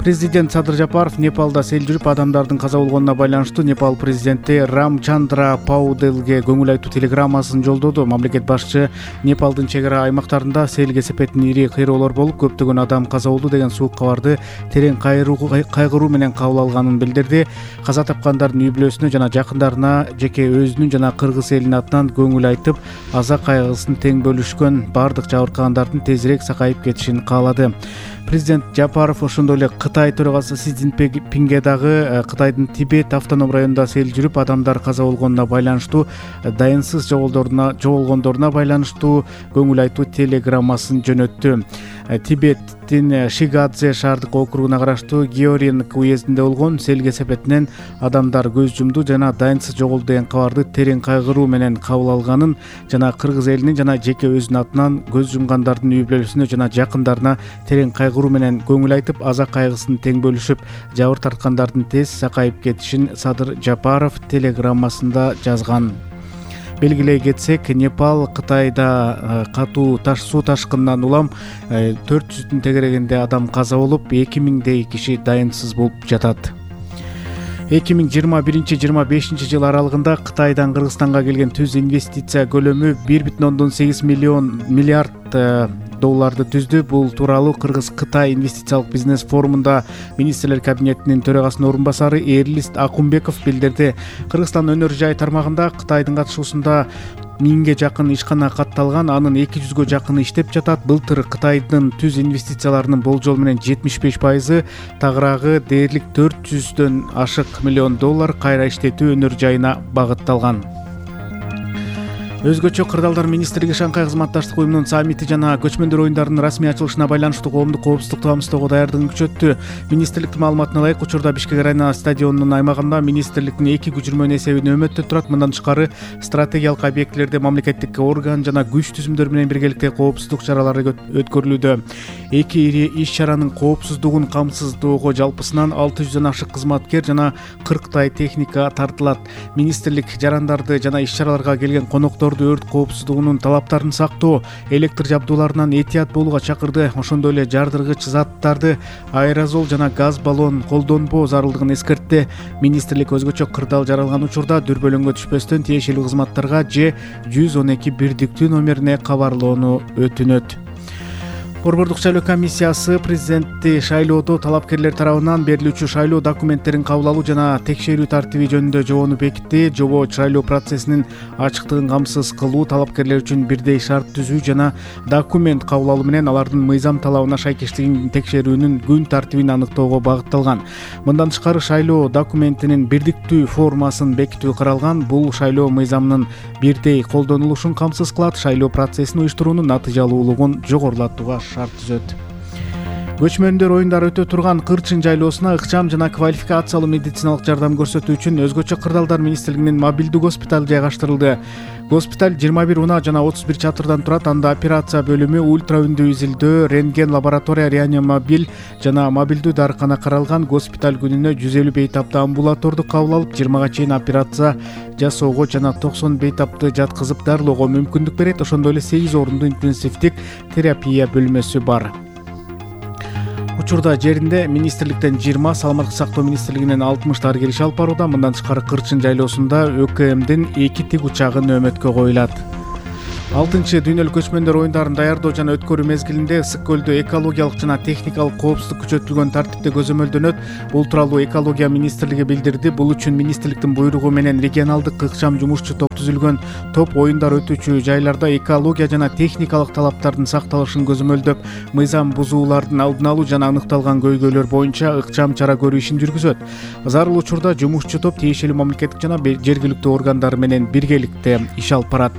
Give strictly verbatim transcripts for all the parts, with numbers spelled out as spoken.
Президент Садыр Жапаров Непалда сел жүрүп адамдардын каза болгонуна байланыштуу Непал президенти Рамчандра Пауделге көңүл айтуу телеграммасын жолдоду. Мамлекет башчы Непалдын чек ара аймактарында сел кесепетин ири кыйроолор болуп, көптөгөн адам каза болду деген суук кабарды терең кайгыруу менен кабыл алганын билдирди. Каза тапкандардын үй бүлөсүнө жана жакындарына жеке өзүнүн жана кыргыз элинин атынан көңүл айтып, аза кайгысын тең бөлүшкөн, бардык жабыркагандардын тезирээк сакайып кетишин каалады. Президент Жапаров ошондой эле Кытай төрагасы Си Цзиньпинге дагы Кытайдын Тибет автоном районунда сел жүрүп адамдар каза болгонуна байланыштуу дайынсыз жоголгондоруна байланыштуу көңүл айтуу телеграммасын жөнөттү. Тибеттин Шигадзе шаардык округуна караштуу Георинг уездинде болгон сел кесепетинен адамдар көз жумду жана дайынсыз жоголду деген кабарды терең кайгыруу менен кабыл алганын жана кыргыз элинин жана жеке өзүнүн атынан көз жумгандардын үй бүлөсүнө жана жакындарына терең кайгыруу менен көңүл айтып, аза кайгысын тең бөлүшүп, жабыр тарткандардын тез сакайып кетишин Садыр Жапаров телеграммасында жазган. Белгилей кетсек, Непал Кытайда катуу таш суу ташкынынан улам төрт жүздүн тегерегинде адам каза болуп, эки миңдей киши дайынсыз болуп жатат. эки миң жыйырма биринчи жыйырма бешинчи жыл аралыгында Кытайдан Кыргызстанга келген түз инвестиция көлөмү бир бүтүн ондон сегиз миллион миллиард долларды түздү. Бул тууралуу Кыргыз-Кытай инвестициялык бизнес форумунда министрлер кабинетинин төрагасынын орун басары Эрлист Акунбеков билдирди. Кыргызстан өнөр жай тармагында Кытайдын катышуусунда миңге жакын ишкана катталган, анын эки жүзгө жакыны иштеп жатат. Былтыр Кытайдын түз инвестицияларынын болжол менен жетимиш беш пайызы, тагыраагы дээрлик төрт жүздөн ашык миллион доллар кайра иштетүү өнөр жайына багытталган. Өзгөчө кырдаалдар министрлиги Шанхай кызматташтык уюмунун саммити жана көчмөндөр оюндарынын расмий ачылышына байланыштуу коомдук коопсуздукту камсыздоого даярдыгын күчөттү. Министрликтин маалыматына ылайык, учурда Бишкек арена стадионунун аймагында министрликтин эки көчүрмөнү эсебинде нөөмөттө турат. Мындан тышкары стратегиялык объектилерде мамлекеттик орган жана күч түзүмдөр менен биргеликте коопсуздук чаралары өткөрүлүүдө. Эки ири иш-чаранын коопсуздугун камсыздоого жалпысынан алты жүздөн ашык кызматкер жана кырктай техника тартылат. Министрлик жарандарды жана иш-чараларга келген коноктор өрт коопсуздугунун талаптарын сактоо, электр жабдууларынан этият болууга чакырды. Ошондой эле жардыргыч заттарды, аэрозол жана газ баллон колдонбоо зарылдыгын эскертти. Министрлик өзгөчө кырдаал жаралган учурда дүрбөлөңгө түшпөстөн тиешелүү кызматтарга же жүз он эки бирдиктүү номерине кабарлоону өтүнөт. Борбордук шайлоо комиссиясы президентти шайлоодо талапкерлер тарабынан берилүүчү шайлоо документтерин кабыл алуу жана текшерүү тартиби жөнүндө жобону бекитти. Жобо шайлоо процессинин ачыктыгын камсыз кылуу, талапкерлер үчүн бирдей шарт түзүү жана документ кабыл алуу менен алардын мыйзам талабына шайкештигин текшерүүнүн күн тартибин аныктоого багытталган. Мындан тышкары шайлоо документинин бирдиктүү формасын бекитүү каралган. Бул шайлоо мыйзамынын бирдей колдонулушун камсыз кылат, шайлоо процессин уюштуруунун натыйжалуулугун жогорулатууга шарт түзөт. Көчмөндөр оюндары өтө турган Кырчын жайлоосуна ыкчам жана квалификациялуу медициналык жардам көрсөтүү үчүн өзгөчө кырдаалдар министрлигинин мобилдүү госпиталь жайгаштырылды. Госпиталь жыйырма бир унаа жана отуз бир чатырдан турат. Анда операция бөлүмү, ультра үндүү изилдөө, рентген лаборатория, реанимобиль жана мобилдүү дарыкана каралган. Госпиталь күнүнө жүз элүү бейтапты амбулаторду кабыл алып, жыйырмага чейин операция жасоого жана токсон бейтапты жаткызып дарылоого мүмкүндүк берет. Ошондой эле сегиз орундуу интенсивдик терапия бөлмөсү бар. Учурда жеринде министрликтен жыйырма, саламаттык сактоо министрлигинен алтымыш дарыгер иш алып барууда. Мындан тышкары Кырчын жайлоосунда ÖКМдин эки тигучагы нөөмөткө коюлат. алтынчы дүйнөлүк көчмөндөр оюндарын даярдоо жана өткөрүү мезгилинде Ысык көлдө экологиялык жана техникалык коопсуздук күчөтүлгөн тартипте көзөмөлдөнөт. Бул тууралуу экология министрлиги билдирди. Бул үчүн министрликтин буйругу менен регионалдык ыкчам жумушчу топ түзүлгөн. Топ оюндар өтүүчү жайларда экология жана техникалык талаптардын сакталышын көзөмөлдөп, мыйзам бузуулардын алдын алуу жана аныкталган көйгөйлөр боюнча ыкчам чара көрүү ишин жүргүзөт. Зарыл учурда жумушчу топ тиешелүү мамлекеттик жана жергиликтүү органдар менен биргеликте иш алып барат.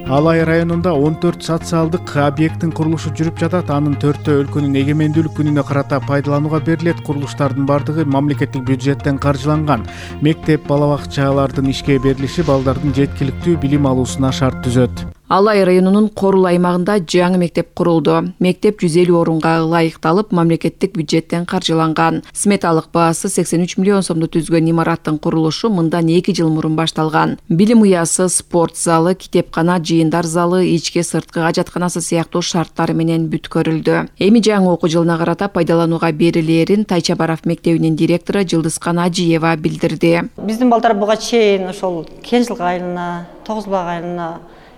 Алай районунда он төрт социалдык объекттин курулушу жүрүп жатат. Анын төртөө өлкөнүн эгемендүүлүк күнүнө карата пайдаланууга берилет. Курулуштардын бардыгы мамлекеттик бюджеттен каржыланган. Мектеп, бала бакчалардын ишке берилиши балдардын жеткиликтүү билим алуусуна шарт түзөт. Ала ай районунун Корул аймагында жаңы мектеп курулду. Мектеп жүз элүү орунга ылайыкталып, мамлекеттик бюджеттен каржыланган. Сметалык баасы сексен үч миллион сомду түзгөн имараттын курулушу мындан эки жыл мурун башталган. Билим уясы, спорт залы, китепкана, жыйындар залы, ички сырткы ажатканасы сыяктуу шарттары менен бүткөрүлдү. Эми жаңы окуу жылына карата пайдаланууга берилээрин Тайчабаров мектебинин директору Жылдызкан Ажиева билдирди. Биздин балдар буга чейин ошол Кенжилик айылына, Тогуз Бак айылына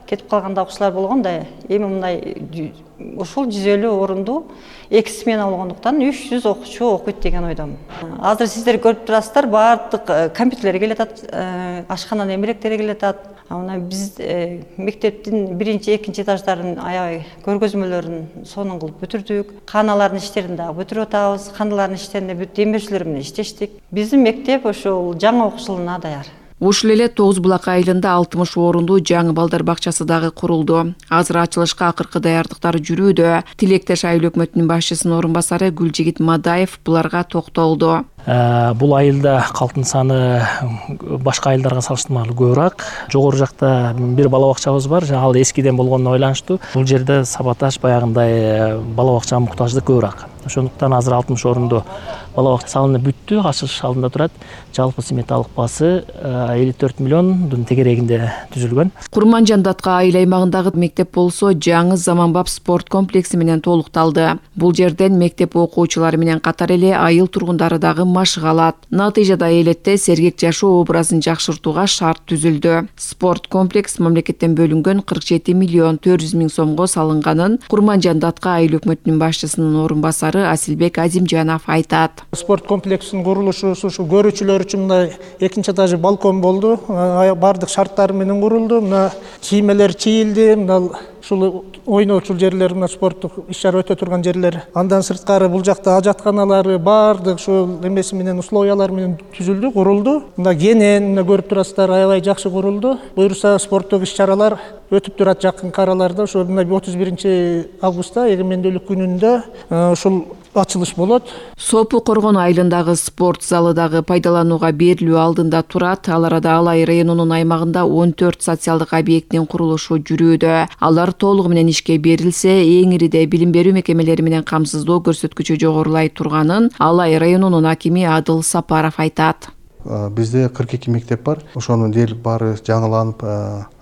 кетип калган окуучулар болгон да, эми мындай ошол жүз элүү орунду эки смена болгондуктан үч жүз окуучу окуйт деген ойдомун. Азыр сиздер көрүп турасыздар, баардык компьютерлер келатат, ашкананын эмеректери келатат. Мына биз мектептин биринчи, экинчи этаждарын аябай көргөзмөлөрүн сонун кылып бүтүрдүк. Каналардын иштерин дагы бүтүрүп атабыз. Каналардын иштеринде бүт демирчилер менен иштештик. Биздин мектеп ошол жаңы окуу жылына даяр. Ушул эле Тогуз Булак айылында алтымыш орунду жаңы балдар бакчасы дагы курулду. Азыр ачылышка акыркы даярдыктар жүрүүдө. Тилектеш айыл өкмөтүнүн башчысынын орун басары Гүлжигит Мадаев буларга токтолду. Бул айылда калктын саны башка айылдарга салыштырмалуу көбүрөөк. Жогору жакта бир бала бакчабыз бар, ал эскиден болгонуна байланыштуу. Бул жерде сабаташ баягындай бала бакчага муктаждык көбүрөөк. Ошондуктан азыр алтымыш орунду бала бакча салынып бүттү, ачылыш алдында турат. Жалпы сметалык баасы элүү төрт миллиондун тегерегинде түзүлгөн. Курманжан Датка айыл аймагындагы мектеп болсо жаңы заманбап спорт комплекси менен толукталды. Бул жерден мектеп окуучулары менен катар эле айыл тургундары дагы машыга алат. Натыйжада элетте сергек жашоо образын жакшыртууга шарт түзүлдү. Спорт комплекс мамлекеттен бөлүнгөн кырк жети миллион төрт жүз миң сомго салынганын Курманжан Датка айыл өкмөтүнүн башчысынын орун басары Асилбек Азимжанов айтат. Спорт комплексинин курулушу ушул көрүүчүлөр үчүн мындай экинчи этажы балкон болду. Бардык шарттары менен курулду. Мына кийимелер чийилди. Мына ушул ойноочул жерлер, мына спорттук иш-чара өтө турган жерлер. Андан сырткары бул жакта ажатканалары бардык ушул эмеси менен условиялар менен түзүлдү, курулду. Мына кенен, мына көрүп турасыздар, аябай жакшы курулду. Буюрса спорттук иш-чаралар өтүп турат жакынкы араларда. Ошо мына отуз биринчи августта эгемендүүлүк күнүндө ушул ачылыш болот. Сопу Коргон айылындагы спорт залы дагы пайдаланууга берилүү алдында турат. Ал арада Алай районунун аймагында он төрт социалдык объекттин курулушу жүрүүдө. Алар толугу менен ишке берилсе, эң ириде билим берүү мекемелери менен камсыздоо көрсөткүчү жогорулай турганын Алай районунун акими Адыл Сапаров айтат. Бизде кырк эки мектеп бар. Ошонун дээрлик баары жаңыланып,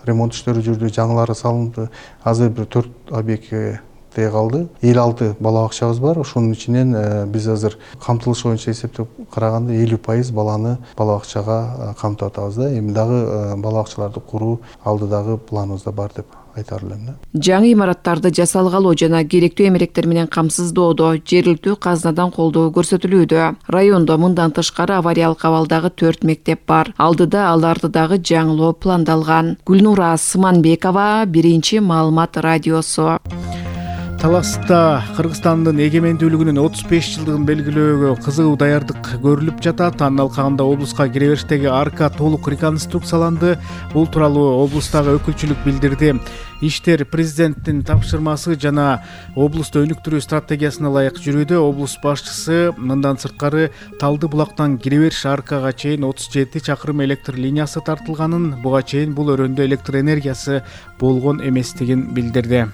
ремонт иштери жүрдү, жаңылары салынды. Азыр бир төрт объектке калды. элүү алты бала бакчабыз бар. Ошонун ичинен биз азыр камтылыш боюнча эсептеп караганда элүү пайыз баланы бала бакчага камтып атабыз да. Эми дагы бала бакчаларды куруу алдыдагы планыбызда бар деп айтар элем. Жаңы имараттарды жасалгалоо жана керектүү эмеректер менен камсыздоодо жергиликтүү казынадан колдоо көрсөтүлүүдө. Райондо мындан тышкары авариялык абалдагы төрт мектеп бар. Алдыда аларды дагы жаңылоо пландалган. Гүлнура Сыманбекова, Биринчи маалымат радиосу. Таласта Кыргызстандын эгемендүүлүгүнүн отуз беш жылдыгын белгилөөгө кызуу даярдык көрүлүп жатат. Анын алкагында облуска кире бериштеги арка толук реконструкцияланды. Бул тууралуу облустагы өкүлчүлүк билдирди. Иштер президенттин тапшырмасы жана облусту өнүктүрүү стратегиясына ылайык жүрүүдө. Облус башчысы мындан сырткары Талды булактан кире бериш аркага чейин отуз жети чакырым электр линиясы тартылганын, буга чейин бул өрөөндө электр энергиясы болгон эместигин билдирди.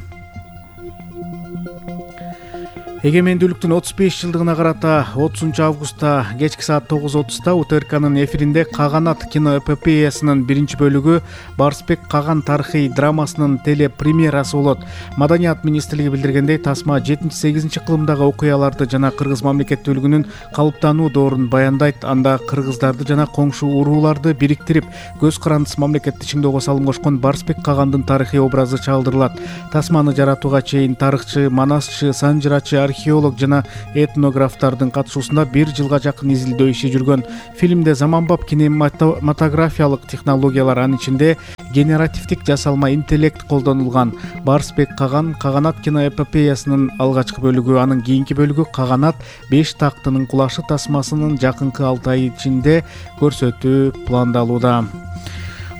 Эгемендүүлүктүн отуз беш жылдыгына карата отузунчу августта кечки саат тогуз отузда У Т Р К'нын эфиринде Каганат киноэпопеясынын биринчи бөлүгү Барсбек Каган тарыхый драмасынын телепремьерасы болот. Маданият министрлиги билдиргендей, тасма жетинчи сегизинчи кылымдагы окуяларды жана кыргыз мамлекеттүүлүгүнүн калыптануу доорун баяндайт. Анда кыргыздарды жана коңшу урууларды бириктирип, көз карандысыз мамлекетти чыңдоого салым кошкон Барсбек Кагандын тарыхый образы чагылдырылат. Тасманы жаратууга чейин тарыхчы, манасчы, санжырачы, археолог жана этнографтардын катышуусунда бир жылга жакын изилдөө иши жүргөн. Фильмде заманбап кинематографиялык технологиялар, анын ичинде генеративдик жасалма интеллект колдонулган. Барсбек Каган Каганат киноэпопеясынын алгачкы бөлүгү, анын кийинки бөлүгү Каганат беш тактынын кулашы тасмасынын жакынкы алты ай ичинде көрсөтүү пландалууда.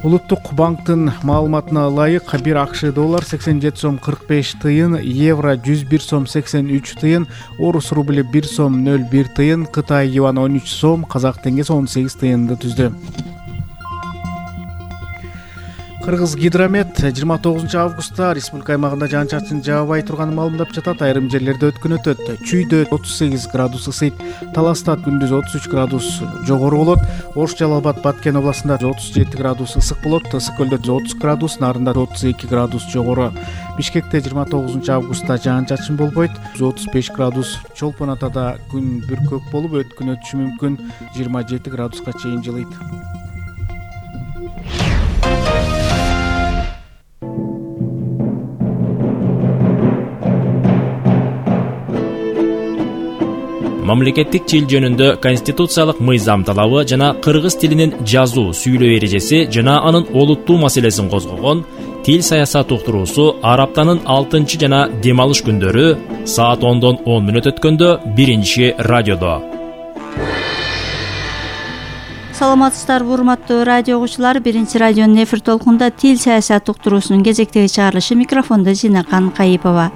Улуттук банктын маалыматына ылайык бир АКШ доллар сексен жети сом кырк беш тыйын, евро жүз бир сом сексен үч тыйын, орус рубли бир сом нөл бир тыйын, Кытай юан он үч сом, казак теңгеси он сегиз тыйынды түздү. Кыргыз Гидромет жыйырма тогузунчу августта республика аймагында жаан-чачын жаабай турганын маалымдап жатат. Айрым жерлерде өткөн өтөт. Чүйдө отуз сегиз градус ысыйт. Таласта күндүз отуз үч градус жогору болот. Ош, Жалал абад, Баткен областында отуз жети градус ысык болот. Ысык көлдө отуз градус, Нарында отуз эки градус жогору. Бишкекте жыйырма тогузунчу августта жаан-чачын болбойт. отуз беш градус. Чолпон Атада күн бүркөк болуп өткөн өтүшү мүмкүн. жыйырма жети градуска чейин жылыйт. Мамлекеттик тил жөнүндө конституциялык мыйзам талабы жана кыргыз тилинин жазуу, сүйлөө эрежеси жана анын олуттуу маселесин козгогон тил саясат уктуруусу ар аптанын алтынчы жана дем алыш күндөрү саат ондон он мүнөт өткөндө биринчи радиодо. Саламатсыздарбы, урматтуу радио угуучулар. Биринчи радионун эфир толкунунда тил саясат уктуруусунун кезектеги чыгарылышы, микрофондо Зинакан Кайыпова.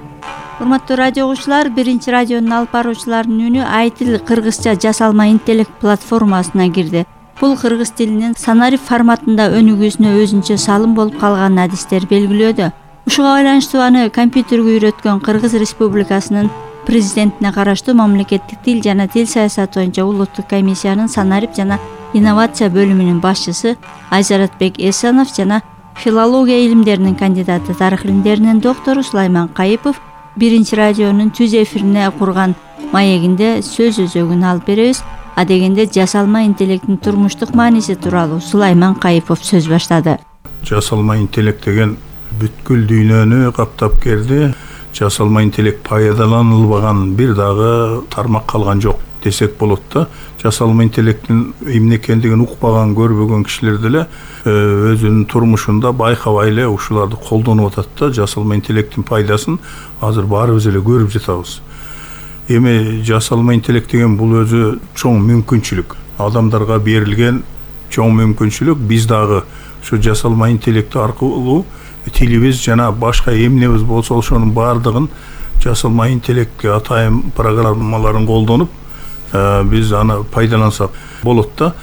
Урматтуу радио угуучулар, биринчи радионун алып баруучуларынын үнү Айтил кыргызча жасалма интеллект платформасына кирди. Бул кыргыз тилинин санарип форматында өнүгүүсүнө өзүнчө салым болуп калган адистер белгилөөдө. Ушуга байланыштуу аны компьютерге үйрөткөн Кыргыз Республикасынын президентине караштуу мамлекеттик тил жана тил саясаты боюнча улуттук комиссиянын санарип жана инновация бөлүмүнүн башчысы Айзаратбек Эсенов жана филология илимдеринин кандидаты, тарых илимдеринин доктору Сулайман Кайыпов биринчи радионун түз эфирине курган маегинде сөз өзөгүн алып беребиз. Адегенде жасалма интеллекттин турмуштук мааниси тууралуу Сулайман Кайыпов сөз баштады. Жасалма интеллект деген бүткүл дүйнөнү каптап келди. Жасалма интеллект пайдаланылбаган бир дагы тармак калган жок десек болот да. Жасалма интеллекттин эмне экендигин укпаган, көрбөгөн кишилер деле өзүнүн турмушунда байкабай эле ушуларды колдонуп атат да. Жасалма интеллекттин пайдасын азыр баарыбыз эле көрүп жатабыз. Эми жасалма интеллект деген бул өзү чоң мүмкүнчүлүк. Адамдарга берилген чоң мүмкүнчүлүк. Биз дагы ушу жасалма интеллект аркылуу тилибиз жана башка эмнебиз болсо ошонун баардыгын жасалма интеллектке атайын программаларын колдонуп биз аны пайдалансак болот да.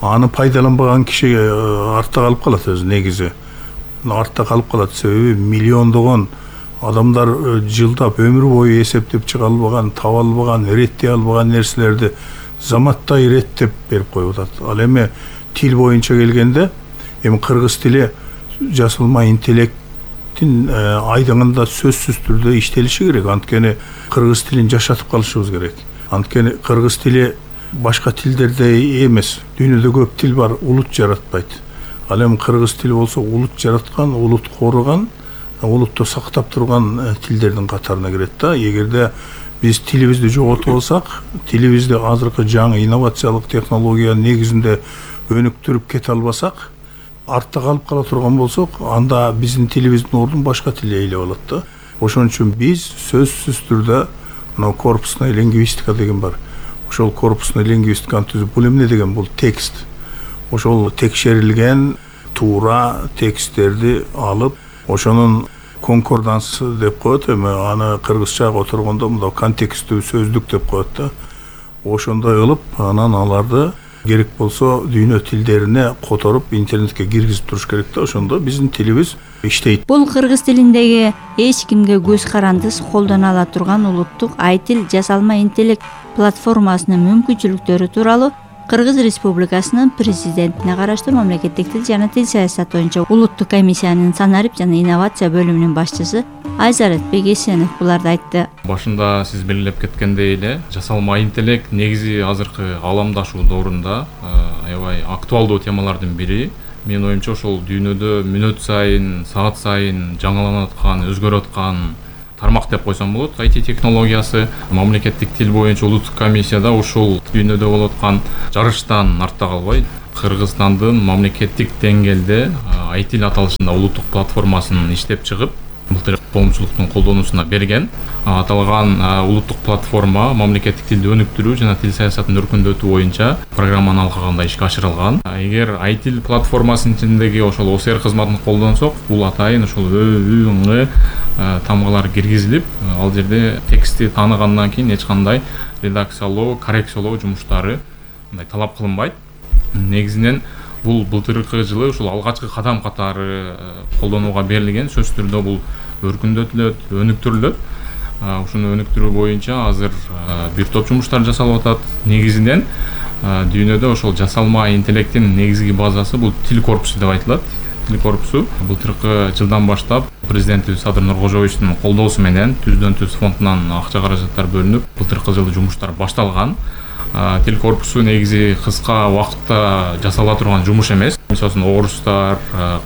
Аны пайдаланбаган киши артта калып калат өзү негизи. Артта калып калат, себеби миллиондогон адамдар жылдап өмүр бою эсептеп чыга албаган, таба албаган, иреттей албаган нерселерди заматтай иреттеп берип коюп атат. Ал эми тил боюнча келгенде, эми кыргыз тили жасалма интеллекттин айдыңында сөзсүз түрдө иштелиши керек. Анткени кыргыз тилин жашатып калышыбыз керек. Анткени кыргыз тили башка тилдердей эмес. Дүйнөдө көп тил бар, улут жаратпайт. Ал эми кыргыз тили болсо улут жараткан, улут коргон, улутту сактап турган тилдердин катарына кирет да. Эгерде биз тилибизди жоготуп алсак, тилибизди азыркы жаңы инновациялык технология негизинде өнүктүрүп кете албасак, артта калып кала турган болсок, анда биздин тилибиздин ордун башка тил ээлеп алат да. Ошон үчүн биз сөзсүз түрдө мына корпусная лингвистика деген бар. Ошол корпусная лингвистиканы түзүп, бул эмне деген? Бул текст. Ошол текшерилген туура тексттерди алып, ошонун конкордансы деп коет, эми аны кыргызчага отургондо мындай контекстүү сөздүк деп коет да. Ошондой кылып, анан аларды керек болсо дүйнө тилдерине которуп интернетке киргизип туруш керек да. Ошондо биздин тилибиз иштейт. Бул кыргыз тилиндеги эч кимге көз карандысыз колдоно ала турган улуттук Айтил жасалма интеллект платформасынын мүмкүнчүлүктөрү тууралуу Кыргыз Республикасынын президентине караштуу мамлекеттик тил жана тил саясаты боюнча улуттук комиссиянын санарип жана инновация бөлүмүнүн башчысы Айзаратбек Эсенов буларды айтты. Башында сиз белгилеп кеткендей эле, жасалма интеллект негизи азыркы ааламдашуу доорунда аябай актуалдуу темалардын бири. Менин оюмча ошол дүйнөдө мүнөт сайын, саат сайын жаңыланып аткан, өзгөрүп аткан тармак деп койсом болот. ай ти технологиясы, мамлекеттик тил боюнча улуттук комиссияда ушул дүйнөдө болуп аткан жарыштан артта калбай, Кыргызстандын мамлекеттик деңгээлде ай ти аталышында улуттук платформасын иштеп чыгып, былтыр коомчулуктун колдонуусуна берген. Аталган улуттук платформа мамлекеттик тилди өнүктүрүү жана тил саясатын өркүндөтүү боюнча программаны алкаганда ишке ашырылган. Эгер ай ти платформасынын ичиндеги ошол о эс эр кызматын колдонсок, бул атайын ошол ө, ү, ң тамгалар киргизилип, ал жерде текстти тааныгандан кийин эч кандай редакциялоо, коррекциялоо жумуштары мындай талап кылынбайт. Негизинен бул былтыркы жылы ушул алгачкы кадам катары колдонууга берилген. Сөзсүз түрдө бул өркүндөтүлөт, өнүктүрүлөт. Ушуну өнүктүрүү боюнча азыр бир топ жумуштар жасалып атат. Негизинен дүйнөдө ошол жасалма интеллекттин негизги базасы бул тил корпусу деп айтылат. Тил корпусу былтыркы жылдан баштап президентибиз Садыр Нуркожоевичтин колдоосу менен түздөн түз фондунан акча каражаттар бөлүнүп, былтыркы жылы жумуштар башталган. Тил корпусу негизи кыска убакытта жасала турган жумуш эмес. Мисалы орустар,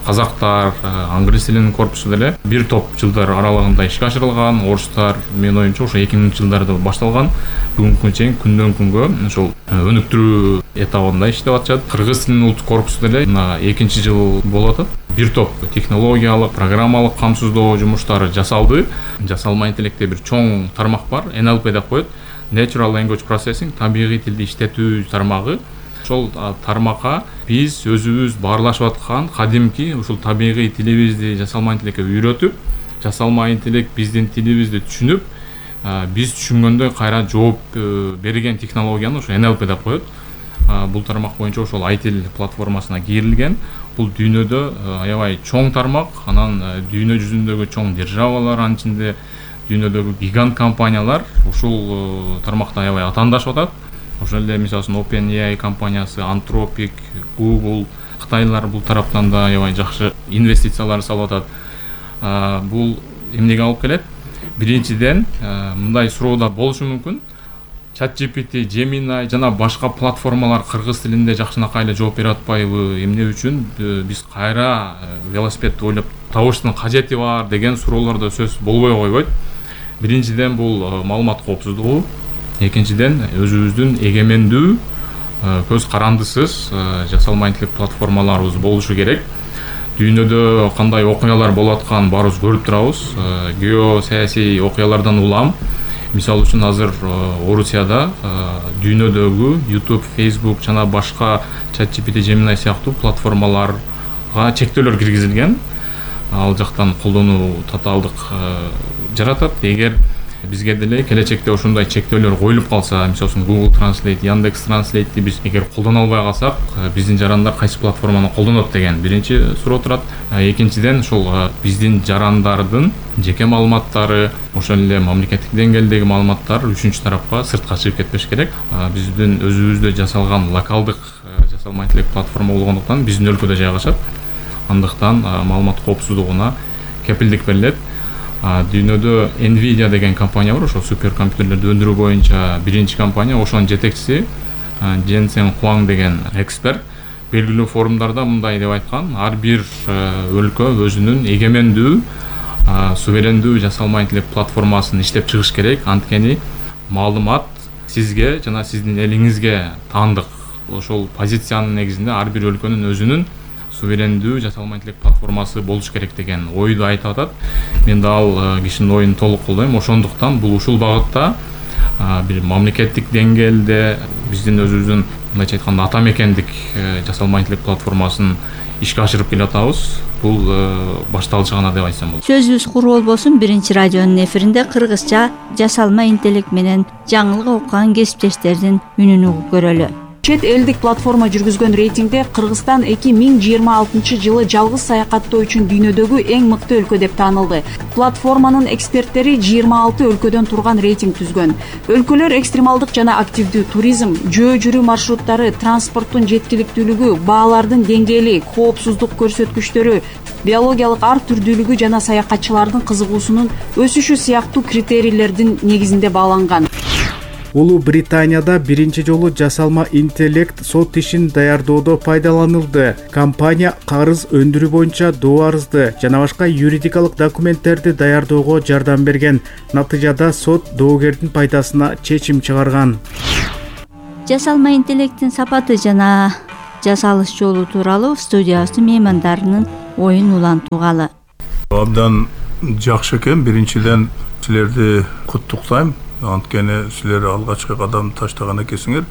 казактар, англис тилинин корпусу деле бир топ жылдар аралыгында ишке ашырылган. Орустар менин оюмча ошо эки миңинчи жылдарда башталган. Бүгүнкү чейин күндөн күнгө ошол өнүктүрүү этабында иштеп атышат. Кыргыз тилинин улуттук корпусу деле мына экинчи жыл болуп атат. Бир топ технологиялык, программалык камсыздоо жумуштары жасалды. Жасалма интеллектте бир чоң тармак бар, эн эл пи деп коет. Natural Language Processing, табигый тилди иштетүү тармагы. Ошол тармакка биз өзүбүз баарлашып аткан кадимки ушул табигый тилибизди жасалма интеллектке үйрөтүп, жасалма интеллект биздин тилибизди түшүнүп, биз түшүнгөндөй кайра жооп берген технологияны ошо эн эл пи деп коет. Бул тармак боюнча ошол айтил платформасына кирилген. Бул дүйнөдө аябай чоң тармак, анан дүйнө жүзүндөгү чоң державалар, анын ичинде дүйнөдөгү гигант компаниялар ушул тармакта аябай атаандашып атат. Ошол эле мисалы үчүн OpenAI компаниясы, Anthropic, Google, кытайлар бул тараптан да аябай жакшы инвестициялар салып атат. Бул эмнеге алып келет? Биринчиден, мындай суроо да болушу мүмкүн. ChatGPT, Gemini жана башка платформалар кыргыз тилинде жакшынакай эле жооп бере атпайбы? Эмне үчүн биз кайра велосипедди ойлоп табыштын кажети бар деген суроолор да сөз болбой койбойт. Биринчиден бул маалымат коопсуздугу, экинчиден өзүбүздүн эгемендүү, көз карандысыз жасалма интеллект платформаларыбыз болушу керек. Дүйнөдө кандай окуялар болуп атканын баарыбыз көрүп турабыз. Геосаясий окуялардан улам, мисалы үчүн азыр Орусияда дүйнөдөгү YouTube, Facebook жана башка ChatGPT, Gemini сыяктуу платформаларга чектөөлөр киргизилген. Ал жактан колдонуу татаалдык жаратат. Эгер бизге деле келечекте ошондой чектөөлөр коюлуп калса, мисалы үчүн Google Translate, Яндекс Translate'ти биз эгер колдоно албай калсак, биздин жарандар кайсы платформаны колдонот деген биринчи суроо турат. Экинчиден ошол биздин жарандардын жеке маалыматтары, ошол эле мамлекеттик деңгээлдеги маалыматтар үчүнчү тарапка сыртка чыгып кетпеш керек. Биздин өзүбүздө жасалган локалдык жасалма интеллект платформа болгондуктан биздин өлкөдө жайгашат. Андыктан маалымат коопсуздугуна кепилдик берилет. Дүйнөдө Nvidia деген компания бар, ошол суперкомпьютерлерди өндүрүү боюнча биринчи компания. Ошонун жетекчиси Jensen Huang деген эксперт белгилүү форумдарда мындай деп айткан: ар бир өлкө өзүнүн эгемендүү, суверендүү жасалма интеллект платформасын иштеп чыгыш керек. Анткени маалымат сизге жана сиздин элиңизге таандык. Ошол позициянын негизинде ар бир өлкөнүн өзүнүн суверендүү жасалма интеллект платформасы болуш керек деген ойду айтып атат. Мен да ал кишинин оюн толук колдойм. Ошондуктан бул ушул багытта бир мамлекеттик деңгээлде биздин өзүбүздүн мындайча айтканда ата мекендик жасалма интеллект платформасын ишке ашырып келе атабыз. Бул башталышы гана деп айтсам болот. Сөзүбүз куру болбосун. Биринчи радионун эфиринде кыргызча жасалма интеллект менен жаңылык окуган кесиптештердин үнүн угуп көрөлү. Чет элдик платформа жүргүзгөн рейтингде Кыргызстан эки миң жыйырма алтынчы жылы жалгыз саякаттоо үчүн дүйнөдөгү эң мыкты өлкө деп таанылды. Платформанын эксперттери жыйырма алты өлкөдөн турган рейтинг түзгөн. Өлкөлөр экстремалдык жана активдүү туризм, жөө жүрүү маршруттары, транспорттун жеткиликтүүлүгү, баалардын деңгээли, коопсуздук көрсөткүчтөрү, биологиялык ар түрдүүлүгү жана саякатчылардын кызыгуусунун өсүшү сыяктуу критерийлердин негизинде бааланган. Улуу Британияда биринчи жолу жасалма интеллект сот ишин даярдоодо пайдаланылды. Компания карыз өндүрүү боюнча доо арызды жана башка юридикалык документтерди даярдоого жардам берген. Натыйжада сот доогердин пайдасына чечим чыгарган. Жасалма интеллекттин сапаты жана жасалыш жолу тууралуу студиябыздын меймандарынын оюн улантуугалы. Абдан жакшы экен. Биринчиден силерди куттуктайм. Анткени силер алгачкы кадам таштаган экенсиңер.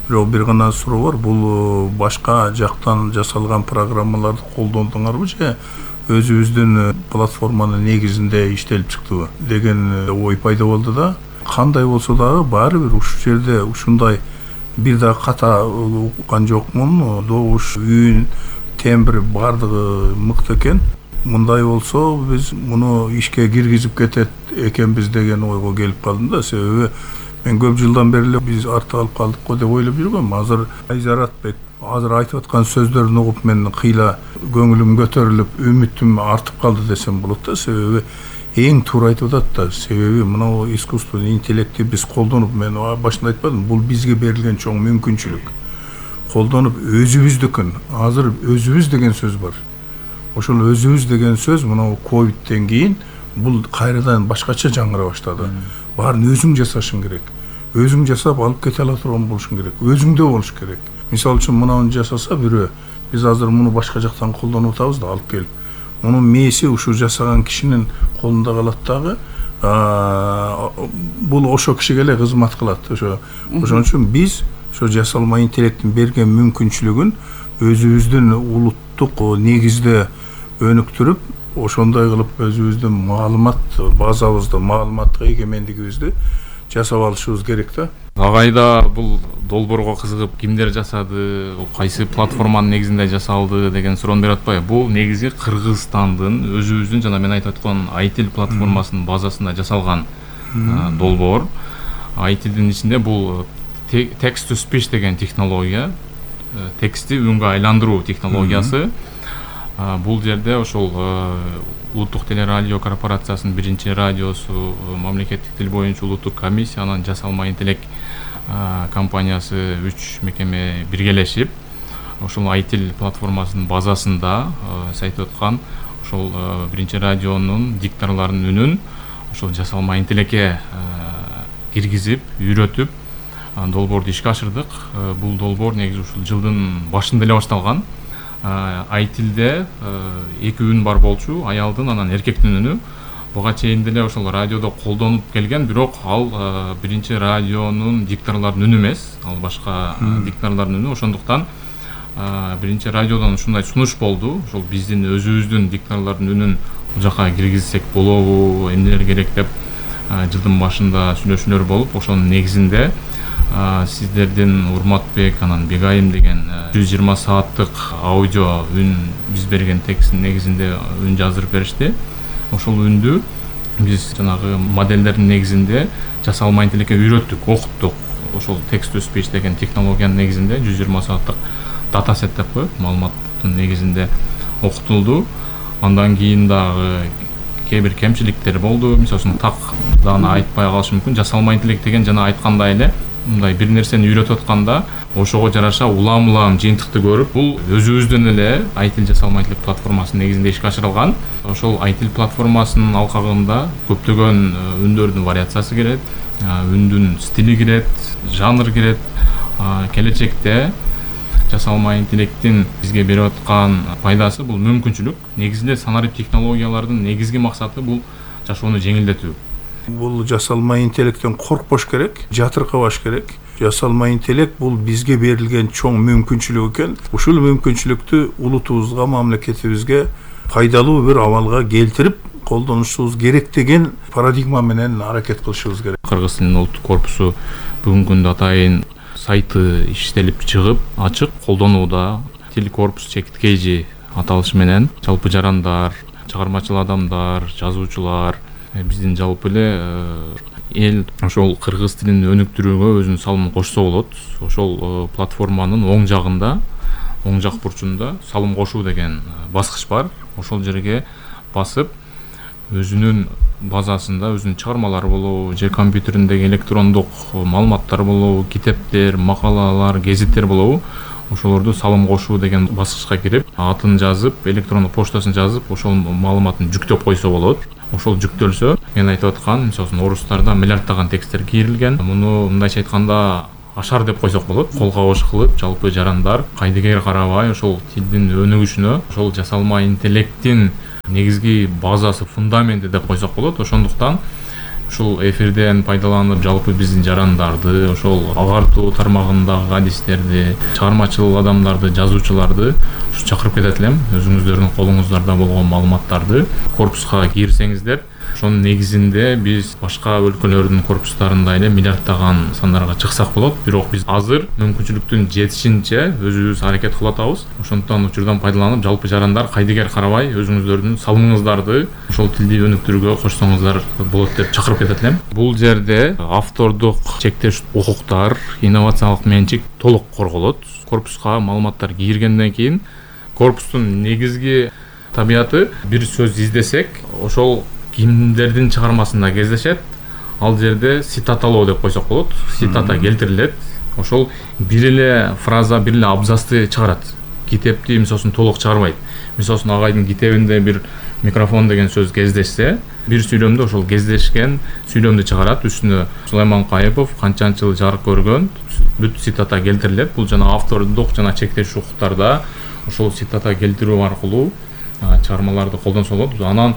Бирок бир гана суроо бар. Бул башка жактан жасалган программаларды колдондуңарбы же өзүбүздүн платформанын негизинде иштелип чыктыбы деген ой пайда болду да. Кандай болсо дагы баары бир ушул жерде ушундай бир да ката уккан жокмун. Добуш, үн, тембр бардыгы мыкты экен. Мындай болсо биз муну ишке киргизип кетет экенбиз деген ойго келип калдым да. Себеби мен көп жылдан бери биз артта калып калдык го деп ойлоп жүргөм. Азыр Айзаратбек азыр айтып аткан сөздөрүн угуп мен кыйла көңүлүм көтөрүлүп, үмүтүм артып калды десем болот да. Себеби эң туура айтып атат да. Себеби мына искусственный интеллектти биз колдонуп, мен башында айтпадым, бул бизге берилген чоң мүмкүнчүлүк. Колдонуп өзүбүздүкүн. Азыр өзүбүз деген сөз бар. Ошол өзүбүз деген сөз мына ковидтен кийин бул кайрадан башкача жаңыра баштады. Баарын өзүң жасашың керек. Өзүң жасап алып кете ала турган болушуң керек. Өзүңдө болуш керек. Мисалы үчүн мынаны жасаса бирөө, биз азыр муну башка жактан колдонуп атабыз да, алып келип. Мунун мээси ушу жасаган кишинин колунда калат дагы. Бул ошо кишиге эле кызмат кылат. Ошо ошон үчүн биз ошо жасалма интеллекттин берген мүмкүнчүлүгүн өзүбүздүн улуттук негизде өнүктүрүп, ошондой кылып өзүбүздүн маалымат базабызды, маалыматтык эгемендигибизди жасап алышыбыз керек да. Агайда бул долбоорго кызыгып кимдер жасады, кайсы платформанын негизинде жасалды деген суроону берип атпайбы? Бул негизи Кыргызстандын өзүбүздүн жана мен айтып аткан Айтил платформасынын базасында жасалган долбоор. Айтилдин ичинде бул text to speech деген технология, текстти үнгө айландыруу технологиясы. Бул жерде ошол улуттук телерадио корпорациясынын биринчи радиосу, мамлекеттик тил боюнча улуттук комиссия, анан жасалма интеллект компаниясы үч мекеме биргелешип, ошол Айтил платформасынын базасында айтып аткан ошол биринчи радионун дикторлорунун үнүн ошол жасалма интеллектке киргизип, үйрөтүп долбоорду ишке ашырдык. Бул долбоор негизи ушул жылдын башында эле башталган. Айтилде эки үн бар болчу, аялдын анан эркектин үнү. Буга чейин деле ошол радиодо колдонуп келген, бирок ал биринчи радионун дикторлорунун үнү эмес, ал башка дикторлордун үнү. Ошондуктан биринчи радиодон ушундай сунуш болду. Ошол биздин өзүбүздүн дикторлордун үнүн бул жака киргизсек болобу, эмнелер керек деп жылдын башында сүйлөшүүлөр болуп, ошонун негизинде сиздердин Урматбек анан Бегайым деген жүз жыйырма сааттык аудио үн биз берген тексттин негизинде үн жаздырып беришти. Ошол үндү биз жанагы модельдердин негизинде жасалма интеллектке үйрөттүк, окуттук. Ошол text to speech деген технологиянын негизинде жүз жыйырма сааттык дата сет деп коет, маалыматтын негизинде окутулду. Андан кийин дагы кээ бир кемчиликтер болду. Мисалы так дагы айтпай калышы мүмкүн. Жасалма интеллект деген жана айткандай эле мындай бир нерсени үйрөтүп атканда ошого жараша улам-улам жыйынтыкты көрүп, бул өзүбүздөн эле Айтил жасалма интеллект платформасынын негизинде ишке ашырылган. Ошол Айтил платформасынын алкагында көптөгөн үндөрдүн вариациясы кирет, үндүн стили кирет, жанр кирет. Келечекте жасалма интеллекттин бизге берип аткан пайдасы бул мүмкүнчүлүк. Негизинде санарип технологиялардын негизги максаты бул жашоону жеңилдетүү. Бул жасалма интеллекттен коркпош керек, жатыркабаш керек. Жасалма интеллект бул бизге берилген чоң мүмкүнчүлүк экен. Ушул мүмкүнчүлүктү улутубузга, мамлекетибизге пайдалуу бир абалга келтирип колдонушубуз керек деген парадигма менен аракет кылышыбыз керек. Кыргыз тилинин улуттук корпусу бүгүнкү күндө атайын сайты иштелип чыгып, ачык колдонууда. Тил корпус чекиткейжи аталышы менен жалпы жарандар, чыгармачыл адамдар, жазуучулар, биздин жалпы эле эл ошол кыргыз тилин өнүктүрүүгө өзүнүн салымын кошсо болот. Ошол платформанын оң жагында, оң жак бурчунда салым кошуу деген баскыч бар. Ошол жерге басып, өзүнүн базасында өзүнүн чыгармалары болобу, же компьютериндеги электрондук маалыматтар болобу, китептер, макалалар, гезиттер болобу, ошолорду салым кошуу деген баскычка кирип, атын жазып, электрондук поштасын жазып, ошол маалыматын жүктөп койсо болот. Ошол жүктөлсө, мен айтып аткан, мисалы орустарда миллиарддаган тексттер кийрилген. Муну мындайча айтканда ашар деп койсок болот. Кол кабыш кылып, жалпы жарандар кайдыгер карабай ошол тилдин өнүгүшүнө, ошол жасалма интеллекттин негизги базасы, фундаменти деп койсок болот. Ошондуктан ушул эфирден пайдаланып, жалпы биздин жарандарды, ошол агартуу тармагындагы адистерди, чыгармачыл адамдарды, жазуучуларды чакырып кетет элем. Өзүңүздөрдүн колуңуздарда болгон маалыматтарды корпуска кирсеңиздер, ошонун негизинде биз башка өлкөлөрдүн корпустарында эле миллиарддаган сандарга чыксак болот. Бирок биз азыр мүмкүнчүлүктүн жетишинче өзүбүз аракет кылып атабыз. Ошондуктан учурдан пайдаланып, жалпы жарандар кайдыгер карабай өзүңүздөрдүн салымыңыздарды ошол тилди өнүктүрүүгө кошсоңуздар болот деп чакырып кетет элем. Бул жерде автордук чектеш укуктар, инновациялык менчик толук корголот. Корпуска маалыматтар киргенден кийин корпустун негизги табияты бир сөз издесек, ошол кимдердин чыгармасында кездешет. Ал жерде цитаталоо деп койсок болот. Цитата келтирилет. Ошол бир эле фраза, бир эле абзацты чыгарат. Китепти мисалын толук чыгарбайт. Мисалын агайдын китебинде бир микрофон деген сөз кездешсе, бир сүйлөмдө ошол кездешкен сүйлөмдү чыгарат. Үстүнө Сулайман Кайыпов канчанчы жыл жарык көргөн бүт цитата келтирилет. Бул жана автордук жана чектеш укуктарда ошол цитата келтирүү аркылуу чыгармаларды колдонсо болот. Анан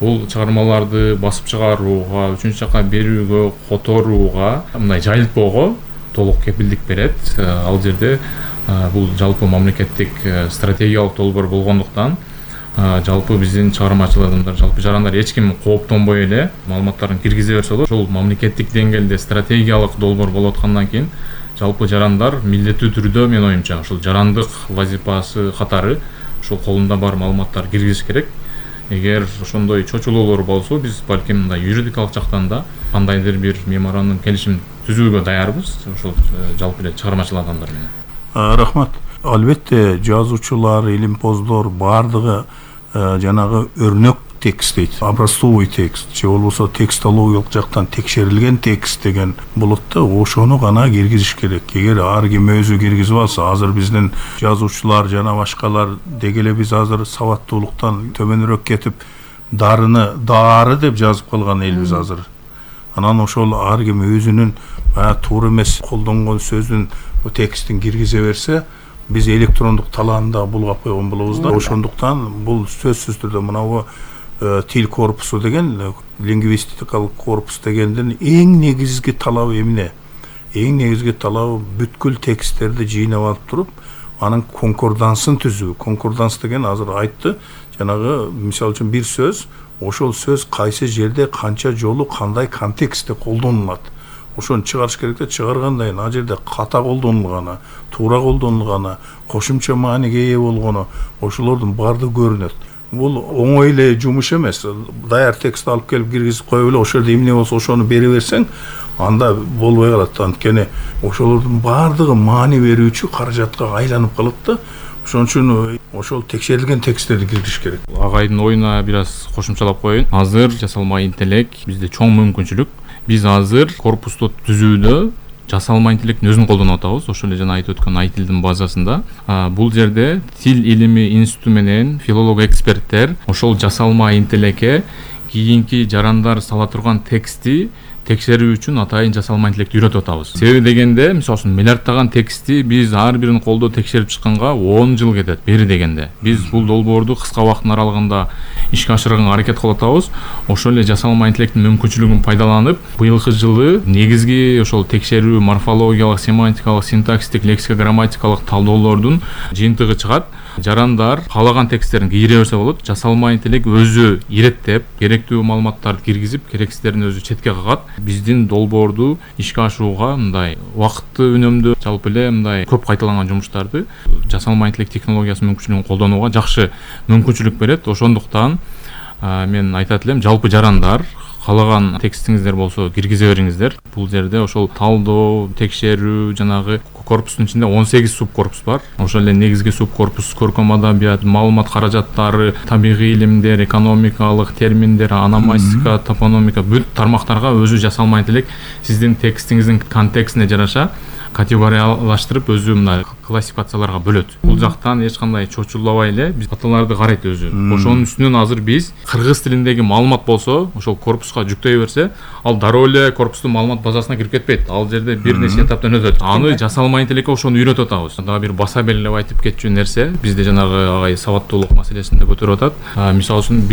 бул чыгармаларды басып чыгарууга, үчүнчү жака берүүгө, которууга, мындай жайылтпоого толук кепилдик берет. Ал жерде бул жалпы мамлекеттик стратегиялык долбоор болгондуктан жалпы биздин чыгармачыл адамдар, жалпы жарандар эч ким кооптонбой эле маалыматтарын киргизе берсе болот. Ошол мамлекеттик деңгээлде стратегиялык долбоор болуп аткандан кийин жалпы жарандар милдеттүү түрдө, менин оюмча, ошол жарандык вазифасы катары ошол колунда бар маалыматтар киргизиш керек. Эгер ошондой чочулоолор болсо, биз балким мындай юридикалык жактан да кандайдыр бир меморандум, келишим түзүүгө даярбыз, ошол жалпы эле чыгармачыл адамдар менен. Рахмат. Албетте жазуучулар, илимпоздор баардыгы жанагы өрнөк текст дейт, образцовый текст же болбосо текстологиялык жактан текшерилген текст деген болот да, ошону гана киргизиш керек. Эгер ар ким өзү киргизип алса, азыр биздин жазуучулар жана башкалар деги эле биз азыр сабаттуулуктан төмөнүрөөк кетип, дарыны дары деп жазып калган элбиз азыр. Анан ошол ар ким өзүнүн туура эмес колдонгон сөздүн текстин киргизе берсе, биз электрондук талаанда булгап койгон болобуз да. Ошондуктан бул сөзсүз түрдө мынабу тил корпусу деген, лингвистикалык корпус дегендин эң негизги талабы эмне? Эң негизги талабы бүткүл тексттерди жыйнап алып туруп, анын конкордансын түзүү. Конкорданс деген азыр айтты, жанагы мисалы үчүн бир сөз, ошол сөз кайсы жерде канча жолу кандай контекстте колдонулат. Ошону чыгарыш керек да, чыгаргандан кийин ал жерде ката колдонулганы, туура колдонулганы, кошумча мааниге ээ болгону, ошолордун баардыгы көрүнөт. Бул оңой эле жумуш эмес. Даяр текст алып келип киргизип коюп эле ошол жерде эмне болсо ошону бере берсең, анда болбой калат. Анткени ошолордун баардыгы маани берүүчү каражатка айланып калат да. Ошон үчүн ошол текшерилген тексттерди киргизиш керек. Агайдын оюна бир аз кошумчалап коеюн. Азыр жасалма интеллект бизде чоң мүмкүнчүлүк. Биз азыр корпусту түзүүдө жасалма интеллекттин өзүн колдонуп атабыз. Ошол эле жана айтып өткөн айтилдин базасында. Бул жерде тил илими институту менен филолог эксперттер ошол жасалма интеллектке кийинки жарандар сала турган текстти текшерүү үчүн атайын жасалма интеллектти үйрөтүп атабыз. Себеби дегенде, мисалы миллиарддаган текстти биз ар бирин колдо текшерип чыкканга он жыл кетет бери дегенде. Биз бул долбоорду кыска убакыттын аралыгында ишке ашырганга аракет кылып атабыз. Ошол эле жасалма интеллекттин мүмкүнчүлүгүн пайдаланып, быйылкы жылы негизги ошол текшерүү морфологиялык, семантикалык, синтаксистик, лексико-грамматикалык талдоолордун жыйынтыгы чыгат. Жарандар каалаган тексттерин кире берсе болот. Жасалма интеллект өзү иреттеп, керектүү маалыматтарды киргизип, керексиздерин өзү четке кагат. Биздин долбоорду ишке ашырууга мындай убакытты үнөмдүү, жалпы эле мындай көп кайталанган жумуштарды жасалма интеллект технологиясы мүмкүнчүлүгүн колдонууга жакшы мүмкүнчүлүк берет. Ошондуктан мен айтат элем, жалпы жарандар каалаган текстиңиздер болсо киргизе бериңиздер. Бул жерде ошол талдоо, текшерүү, жанагы корпустун ичинде он сегиз субкорпус бар. Ошол эле негизги субкорпус көркөм адабият, маалымат каражаттары, табигый илимдер, экономикалык терминдер, ономастика, топономика, бүт тармактарга өзү жасалма интеллект сиздин текстиңиздин контекстине жараша категориялаштырып өзү мына классификацияларга бөлөт. Бул жактан эч кандай чочулабай эле биз каталарды карайт өзү. Ошонун үстүнөн азыр биз кыргыз тилиндеги маалымат болсо, ошол корпуска жүктөй берсе, ал дароо эле корпустун маалымат базасына кирип кетпейт. Ал жерде бир нече этаптан өтөт. Аны жасалма интеллектке ошону үйрөтүп атабыз. Дагы бир баса белгилеп айтып кетчү нерсе, бизде жанагы агай сабаттуулук маселесин да көтөрүп атат. Мисалы үчүн